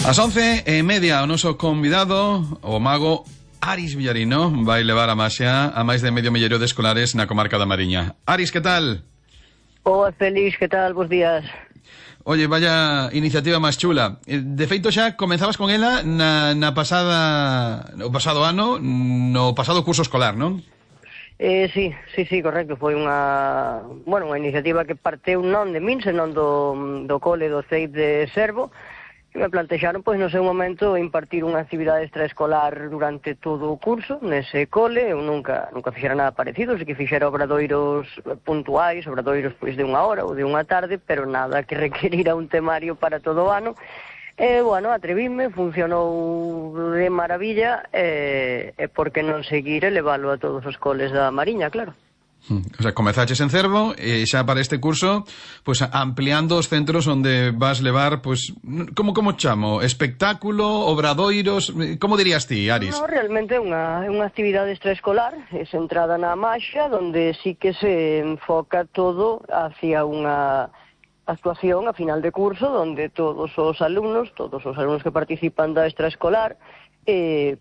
Ás 11:30 o noso convidado, o mago Aris Villarino, vai levar a maxia a máis de medio milleiro de escolares na comarca da Mariña. Aris, que tal? Hola, Félix, que tal? Bos días. Oye, vaya iniciativa máis chula. De feito xa comenzabas con ela no pasado ano, no pasado curso escolar, non? Sí, correcto. Foi unha iniciativa que parteu non de min, senón do cole do CEIP de Servo, que me plantexaron, pois, no seu momento, impartir unha actividade extraescolar durante todo o curso nese cole. Eu nunca fixera nada parecido, así que fixera obradoiros puntuais, obradoiros, pois, de unha hora ou de unha tarde, pero nada que requerira un temario para todo o ano. Atrevíme, funcionou de maravilla, e por que non seguir e leválo a todos os coles da Mariña, claro. O sea, comezaches en Cervo e xa para este curso, pues ampliando os centros onde vas levar, pues, como chamo? Espectáculo, obradoiros, como dirías ti, Aris? No, realmente é unha actividade extraescolar, centrada na maxia, donde sí que se enfoca todo hacia unha actuación a final de curso, donde todos os alumnos que participan da extraescolar,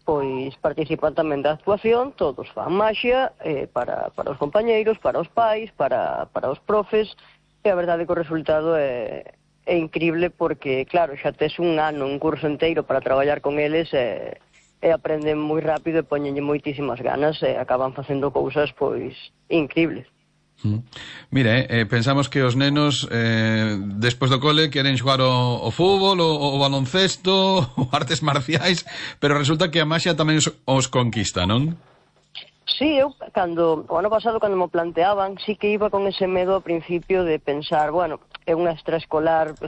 pois participan tamén da actuación, todos fan maxia, para os compañeiros, para os pais, para os profes, e a verdade é que o resultado é incrible, porque, claro, xa tes un ano, un curso inteiro para traballar con eles, e aprenden moi rápido e poñenlle moitísimas ganas, e acaban facendo cousas, pois, incribles. Mira, pensamos que os nenos despois do cole queren xogar o fútbol, o baloncesto, o artes marciais, pero resulta que a maxia tamén os conquista, non? Sí, eu, o ano pasado, cando me planteaban, sí que iba con ese medo ao principio de pensar, é unha extraescolar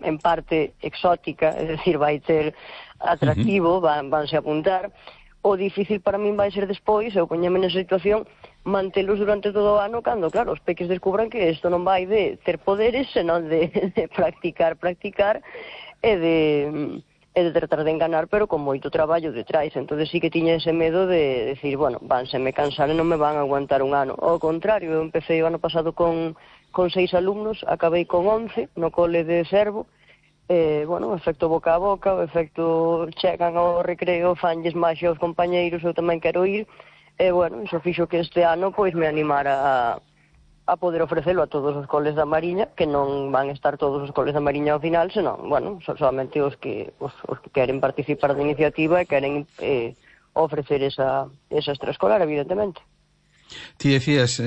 en parte exótica, é dicir, vai ter atractivo, vanse apuntar. O difícil para min vai ser despois, eu poñeme nesa situación, mantelos durante todo o ano, cando, claro, os peques descubran que isto non vai de ter poderes, senón de practicar, e de tratar de enganar, pero con moito traballo detrás. Entón sí que tiña ese medo de decir, vanseme cansar e non me van a aguantar un ano. Ao contrario, eu empecé o ano pasado con 6 alumnos, acabei con 11 no cole de Servo. O efecto boca a boca, o efecto chegan ao recreo, fanlles maxia aos compañeiros, eu tamén quero ir, iso fixo que este ano pois me animara a poder ofrecelo a todos os coles da Mariña, que non van estar todos os coles da Mariña ao final, senón, solamente os que queren participar da iniciativa e queren ofrecer esa extraescolar, evidentemente. Ti decías,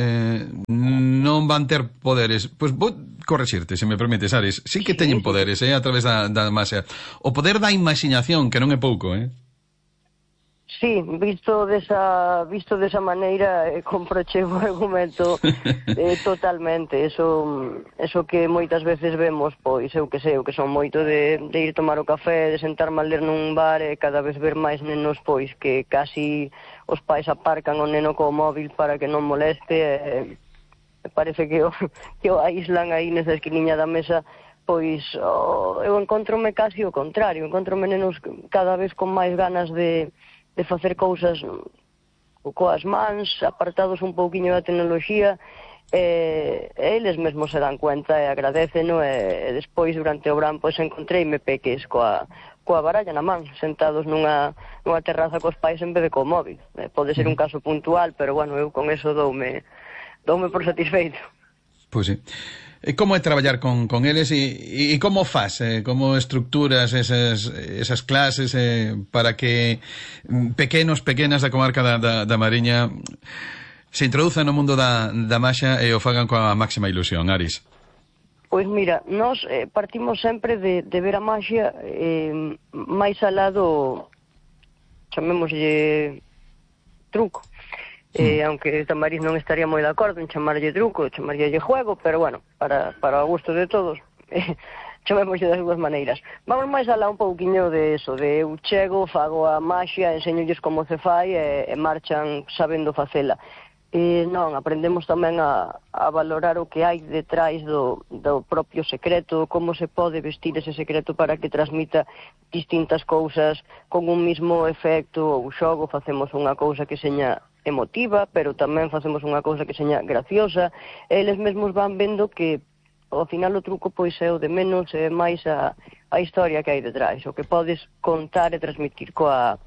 non van ter poderes. Pois vou correxirte, se me permites, Aris. Sí que teñen poderes, a través da maxia. O poder da imaxinación, que non é pouco, Sí, visto desa maneira, comproche o argumento totalmente. Eso que moitas veces vemos, pois, eu que son moito de ir tomar o café, de sentarme a ler nun bar, e cada vez ver máis nenos, pois, que casi os pais aparcan o neno co móvil para que non moleste, parece que o aíslan aí nesa esquiniña da mesa. Pois eu encontrome casi o contrario, encontrome nenos cada vez con máis ganas de facer cousas coas mans, apartados un pouquiño da tecnoloxía, e eles mesmos se dan cuenta e agradeceno, e despois, durante o verán, pois encontreime peques coa baralla na man, sentados nunha terraza cos pais en vez de co móvil. Pode ser un caso puntual, pero, eu con eso doume por satisfeito. Pois sí. E como é traballar con eles e como faz, como estructuras esas clases para que pequenas da comarca da Mariña se introduzan no mundo da maxia e o fagan coa máxima ilusión, Aris? Pois mira, nós partimos sempre de ver a maxia máis alá do, chamémoslle, truco. Aunque Tamariz non estaría moi de acordo en chamarlle truco, chamarlle juego, pero para o gusto de todos, chamémoslle das dúas maneiras. Vamos máis alá un pouquiño de eso, de eu chego, fago a maxia, enseñolles como se fai e marchan sabendo facela. Non, aprendemos tamén a valorar o que hai detrás do propio secreto, como se pode vestir ese secreto para que transmita distintas cousas con un mismo efecto ou xogo. Facemos unha cousa que seña emotiva, pero tamén facemos unha cousa que seña graciosa, e eles mesmos van vendo que ao final o truco pois é o de menos, é máis a historia que hai detrás, o que podes contar e transmitir coa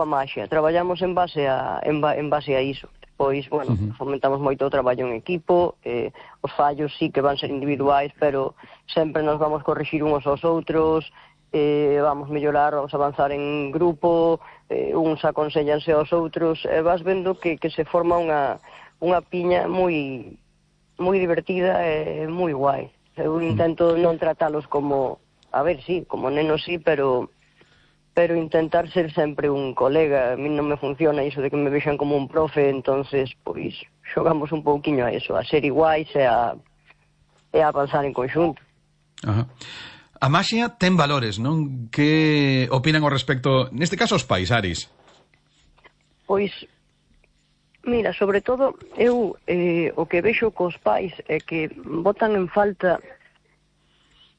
maxia. Traballamos en base a iso. Pois, bueno, fomentamos moito o traballo en equipo, os fallos sí que van ser individuais, pero sempre nos vamos corrixir uns aos outros, vamos mellorar, vamos avanzar en grupo, uns aconsellanse aos outros, vas vendo que se forma unha piña moi divertida e moi guai. Eu intento non tratalos como, a ver, sí, como nenos sí, pero intentar ser sempre un colega. A mí non me funciona iso de que me vexan como un profe, entonces, pois, xogamos un pouquiño a eso, a ser iguais e a avanzar en conxunto. Ajá. A maxia ten valores, non? Que opinan ao respecto, neste caso, os pais, Aris? Pois, mira, sobre todo, eu o que vexo cos pais é que botan en falta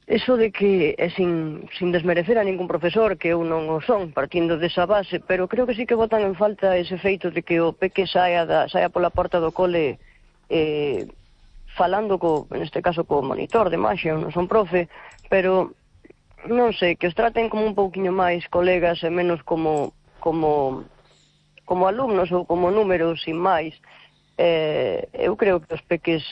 eso de que, sin desmerecer a ningún profesor, que eu non o son, partindo desa base, pero creo que sí que botan en falta ese feito de que o peque saia pola porta do cole falando, neste caso, co monitor de maxia, non son profe, pero, non sei, que os traten como un pouquiño máis colegas e menos como alumnos ou como números, sin máis. Eu creo que os peques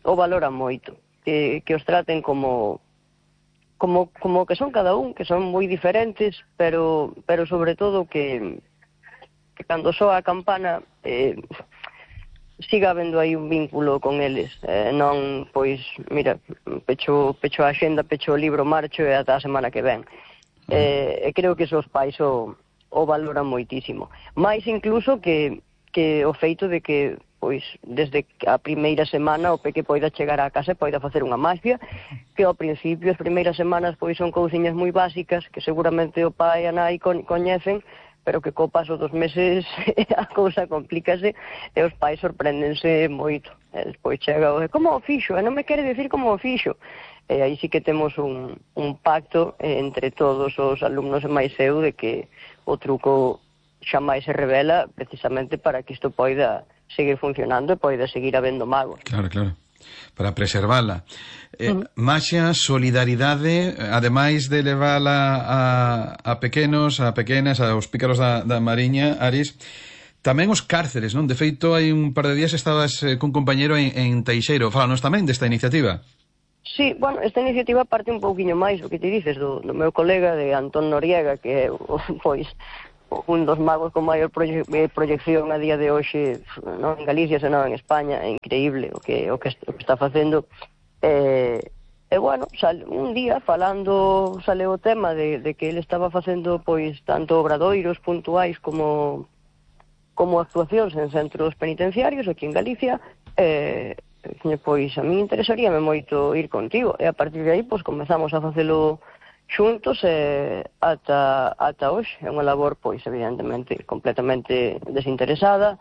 o valoran moito. Que os traten como que son cada un, que son moi diferentes, pero sobre todo que cando soa a campana siga habendo aí un vínculo con eles, non, pois, mira, pecho a axenda, pecho o libro, marcho e ata a semana que ven. Creo que esos pais o valoran moitísimo. Mais incluso que o feito de que pois desde a primeira semana o peque poida chegar á casa e poida facer unha maxia, que ao principio, as primeiras semanas, pois son cousiñas moi básicas, que seguramente o pai e a nai coñecen, pero que co paso dos meses a cousa complícase e os pais sorpréndense moito. E despois chega como o fixo? E non me quere decir como o fixo. E aí sí que temos un pacto entre todos os alumnos e máis eu de que o truco xamais se revela precisamente para que isto poida seguir funcionando e poida seguir habendo magos. Claro, para preservala. Maxia, solidaridade, ademais de levala a pequenos, a pequenas, aos pícaros da Mariña, Aris, tamén os cárceres, non? De feito, hai un par de días estabas cun compañero en Teixeiro. Fálanos tamén desta iniciativa. Sí, bueno, esta iniciativa parte un pouquiño máis, o que te dices, do meu colega de Antón Noriega, que é, pois, un dos magos con maior proyección a día de hoxe, non en Galicia, senón en España. É increíble o que está facendo. Bueno, un día falando sale o tema de que ele estaba facendo pois tanto obradoiros puntuais como actuacións en centros penitenciarios aquí en Galicia. Pois a mí interesaríame moito ir contigo, e a partir de aí pois comezamos a facelo xuntos ata hoxe. É unha labor, pois, evidentemente, completamente desinteresada,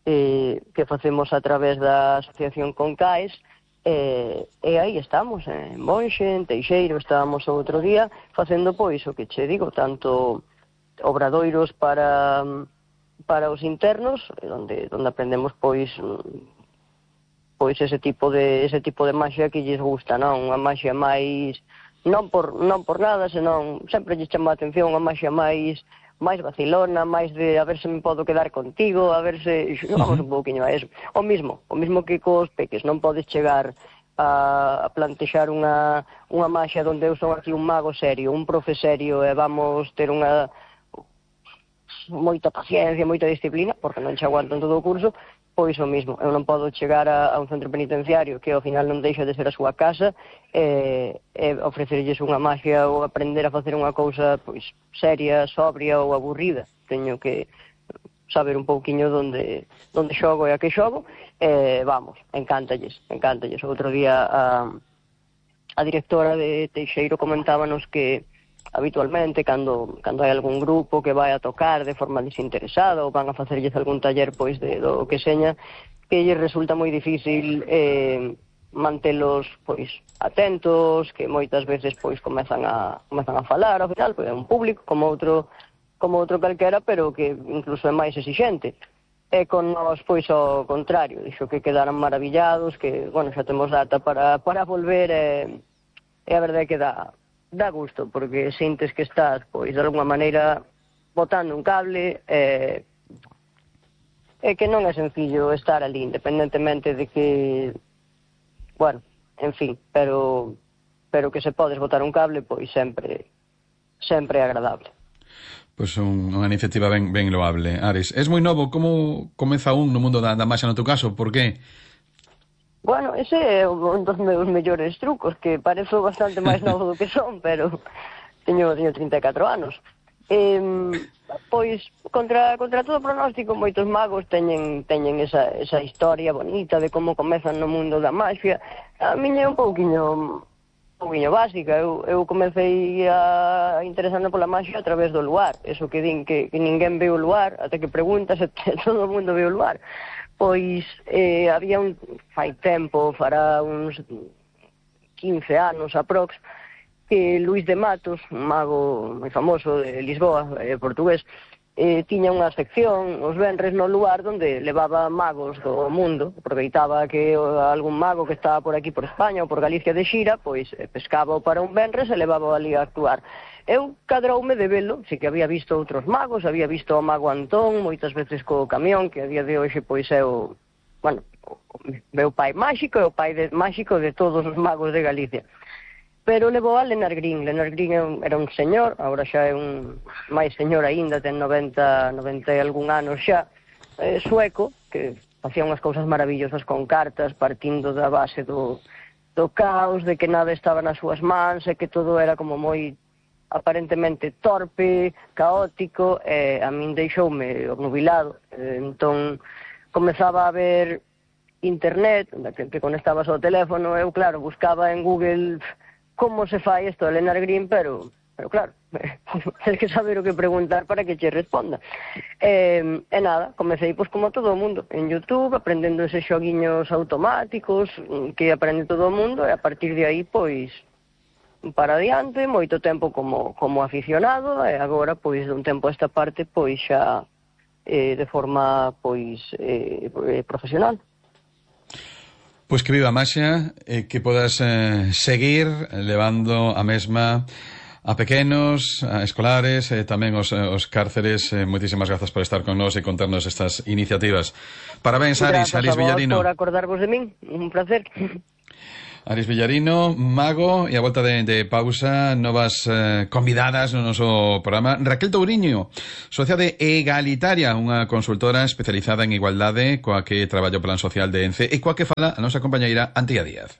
que facemos a través da asociación Concaes, e aí estamos, en Monxe, en Teixeiro, estábamos o outro día, facendo, pois, o que che digo, tanto obradoiros para os internos, onde aprendemos, pois ese tipo de maxia que lles gusta, non? Unha maxia máis non por nada, senón sempre lle chama a atención unha maxia máis vacilona, máis de a ver se me podo quedar contigo, a ver se xogamos un pouquiño a eso. O mismo que cos peques, non podes chegar a plantexar unha maxia onde eu son aquí un mago serio, un profe serio, e vamos ter unha moita paciencia, moita disciplina, porque non che aguantan todo o curso. Pois o mismo, eu non podo chegar a un centro penitenciario que ao final non deixa de ser a súa casa e ofrecerlles unha maxia ou aprender a facer unha cousa pois seria, sobria ou aburrida. Teño que saber un pouquiño onde xogo e a que xogo. Vamos, encántalles. Outro día a directora de Teixeiro comentábanos que habitualmente, cando hai algún grupo que vai a tocar de forma desinteresada ou van a facerlles algún taller pois do que seña, que lles resulta moi difícil mantelos pois atentos, que moitas veces pois comezan a falar, ao final pois é un público como outro calquera, pero que incluso é máis exixente. E con nós pois ao contrario, dixo que quedaran maravillados, que, bueno, xa temos data para volver, e a verdade é que dá gusto, porque sintes que estás, pois, de alguma maneira botando un cable, e que non é sencillo estar ali, independentemente de que, bueno, en fin, pero que se podes botar un cable, pois sempre é agradable. Pois unha iniciativa ben loable. Ares, es moi novo, como comeza un no mundo da maxia no teu caso? Por que? Bueno, ese é un dos meus mellores trucos, que parezo bastante máis novo do que son, pero teño 34 anos. Pois, contra todo pronóstico, moitos magos teñen esa historia bonita de como comezan no mundo da magia. A miña é un pouquiño básica. Eu comecei a interesarme pola magia a través do luar. Eso que din que ninguén ve o luar, até que preguntas e todo o mundo ve o luar. Pois había fai tempo, fará uns 15 anos aprox, que Luís de Matos, un mago moi famoso de Lisboa, portugués, tiña unha sección os venres no luar onde levaba magos do mundo. Aproveitaba que algún mago que estaba por aquí por España ou por Galicia de xira, pois pescaba para un venres e levaba ali a actuar. Eu cadroume de velo, si que había visto outros magos, había visto o mago Antón moitas veces co camión, que a día de hoxe pois é o meu pai máxico e o pai máxico de todos os magos de Galicia. Pero levou a Lennart Green. Lennart Green era un señor, agora xa é un máis señor aínda, ten 90 e algún anos xa, sueco, que facía unhas cousas maravillosas con cartas, partindo da base do caos, de que nada estaba nas súas mans e que todo era como moi aparentemente torpe, caótico, e a min deixoume obnubilado. Entón comezaba a ver internet, que conectabas ao teléfono, eu claro, buscaba en Google como se fai isto de Lennart Green, pero claro, tens que saber o que preguntar para que che responda. E nada, comecei pois como todo o mundo, en YouTube, aprendendo eses xoguiños automáticos que aprende todo o mundo, e a partir de aí pois para adiante, moito tempo como aficionado, e agora, pois, dun tempo a esta parte, pois, xa de forma, pois, profesional. Pois que viva a maxia, que podas seguir levando a mesma a pequenos, a escolares, tamén os cárceres. Moitísimas grazas por estar con nós e contarnos estas iniciativas. Parabéns, Aris Villarino. Por acordarvos de min, un placer. Aris Villarino, mago, e a volta de pausa, novas convidadas no noso programa. Raquel Touriño, socia de Egalitaria, unha consultora especializada en igualdade coa que traballa o Plan Social de ENCE e coa que fala a nosa compañeira Antía Díaz.